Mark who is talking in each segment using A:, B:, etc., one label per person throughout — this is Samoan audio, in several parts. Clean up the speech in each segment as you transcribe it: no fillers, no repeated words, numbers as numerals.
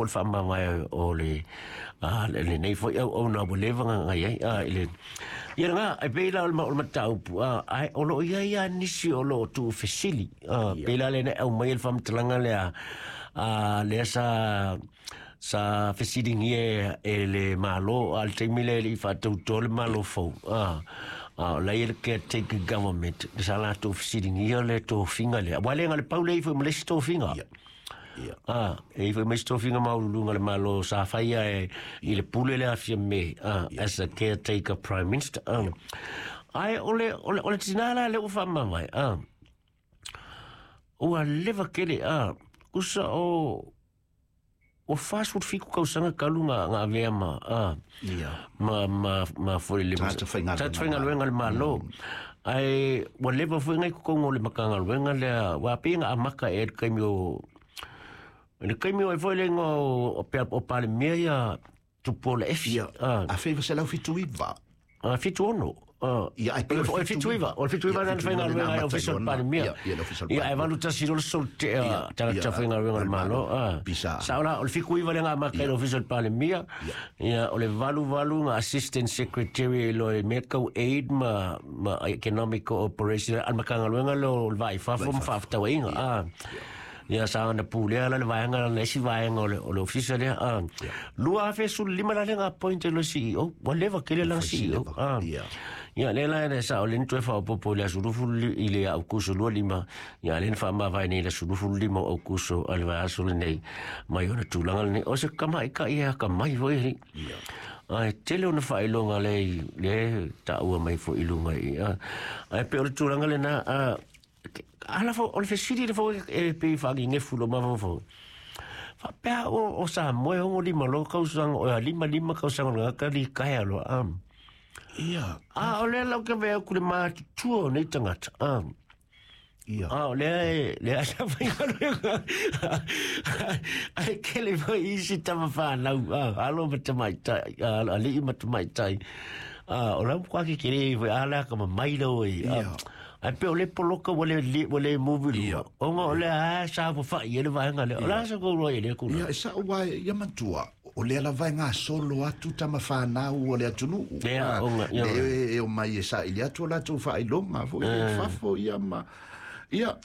A: O le faamavae o le lenei foi auauna ua leva ona i ai i le ia lena e pei la o le mataupu ae o lo o i ai lava nisi o lo o tuufesili pei la lea na aumai le faamatalaga lea lea sa fesiligia e le Malo a le taimi lea e le i faatautoa le Malo fou o la e i ai le caretaker government sa latou fesiligia le tofiga lea aua le na o le pau lea e i ai foi ma le isi tofiga. E i ai foi ma isi tofiga maualuluga a le Malo sa faia e i le pule le Afia May as a caretaker prime minister. Ae o le, o le, o le tinā la lea ua faamavae, ua leva tele, tusa o ua 47 tausaga talu na avea ma ma foi le
B: Tagata faigaluega.
A: Tagata faigaluega a le Malo. Ae ua leva foi na i totonu o le Matagaluega lea, aua pei na amata ea i le taimi o i le taimi o ai foi le igoa o o Palemia ia Tupuola Efi.
B: Ia, 1979.
A: 76.
B: Ia, ai pei
A: o le 79, o le 79 na faigaluega ai Ofisa o le Palemia.
B: Ia, le Ofisa o le
A: Ia, ae 81 loa le solo tea tagata faigaluega a le Malo. Sao la, o le 79 lea na amata ai le Ofisa o le Palemia. Ia, o le 88 na Assistant Secretary loa i mea tau aid ma Economic Cooperation a le Matagaluega lea o le Va i Fafo ma Faafetauaiga. Ia, sa ona pulea la le vaega la le isi vaega o le ofisa lea. 2015 la lea na appoint ai loa CEO. Ua leva tele lana CEO. Ia, lea la e sao lea na toe faaopoopo i le aso 20 i le Aokuso 25, ia lea na faamavae nei i le aso 25 o Aokuso a le vaiaso lenei mai ona tulaga lenei. O se tamaitai e atamai foi alii. Ae tele ona faailoga lea lea e taua mai foi i luga i Ae pei o le tulaga lena, ala fo, o le fesili le foi e pei faagegefu i lou mafaufau. Faapea o Samoa e 65 loa tausaga, o 55 tausaga o le tagata litaea loa. A o lea la ou te vaai atu i le matutua o nei tagata. A o lea e lea sa faigaluega. Ae tele foi isi tama fanau, alo ma tamaitai, alii ma tamaitai. O la ua tetele foi a le atamamai lau e. Ae pei o le poloka ua le ua le move i luga. Ona o lea sa faafai ai le vaega lea. O le a sa tou iloa i lea tulaga?
B: Ia, e sao aua ia matua, o lea lava e gasolo atu tama fanau o le atunuu.
A: Ia, ona, ia.
B: Le e omai e saili atu o latou faailoga foi i fafo, ia ma... Ia,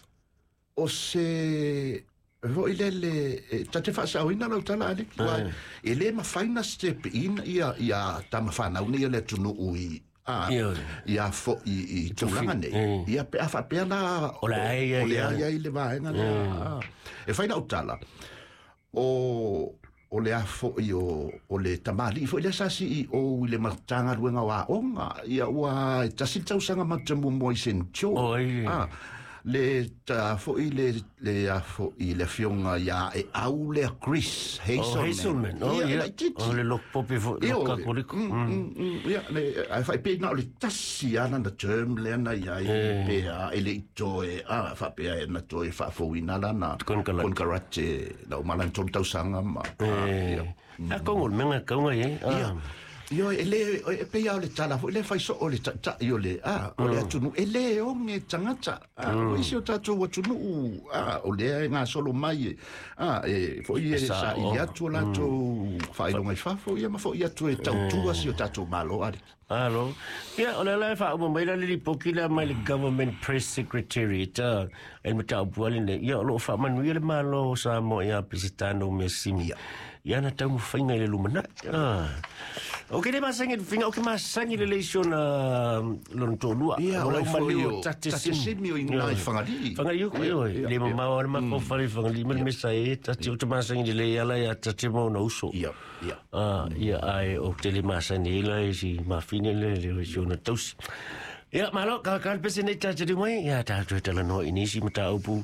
B: o se foi lele, e, ta te faasaoina lau tala, Aleki, aua e le mafai na step in ia, ia tama fanau nei o le atunuu i, a, ia foi i tulaga nei. Ia, pe a faapea la,
A: O le a ia
B: o le a ia i le vaega lea. E fai lau tala, o le a foi o le tamalii foi lea sa CEO i le Matagaluega o Aoga, ia ua e tasi le tausaga matou te muamua i St. Joe.
A: Oi.
B: Le ta foi le a foi le afioga ia e au lea Chris Hazelman.
A: Oh, Hazelman. Oh,
B: ia,
A: ia.
B: laitiiti.
A: O le loku pope foi,
B: Ia,
A: loku katoliko.
B: Ia, le, ae faapea na o le tasi lava lana term lea na i ai, pe a, e le i toe, a, faapea e na toe faafouina lana
A: Konekarate.
B: konekarate, na uma lana 3 tausaga ma, a, ia.
A: A kongo le mea kaunga i ai.
B: Ia. Ia, e le, e pei lava o le tala foi lea fai soo o le taitai o le, a, o le atunuu, e le oge tagata. A, o isi o tatou atunuu, a, o lea e gasolo mai, e, a, e foi e saili atu o latou faailoga i fafo, ia ma foi atu e tautua si o tatou Malo, aliki.
A: Alo. Ia, o lea la e faauma mai la le lipoti lea mai le Government Press Secretariat, e le mataupu lava lenei. Ia, o lo o faamanuia le Malo o Samoa ia Peseta Noumeasimi i ana taumafaiga i le lumanai. Ou te le masani i le faiga, ou te masani lelei i si ona lona toalua.
B: Ia,
A: O
B: o
A: lau
B: lai foi
A: maliu
B: o
A: Tate
B: Tate
A: Simi.
B: Simi o i gina i Fagalii.
A: Fagalii uku, ioe. Le mamao lava le matou fale i Fagalii ma le mea sa i ai Tate. Ou te masani lelei ala ia Tate ma ona uso.
B: Ia, ia.
A: Ia, ae ou te le masani ai la i si mafine lea, le si ona tausi. Ia, malo, ka ka le pese nei tātou mai, ia tātou e talanoa i nisi mataupu,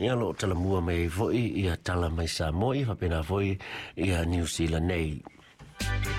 A: ia o lo o talamua mai ai foi, ia tala mai Samoa, ia faapena foi, ia Niu Sila nei.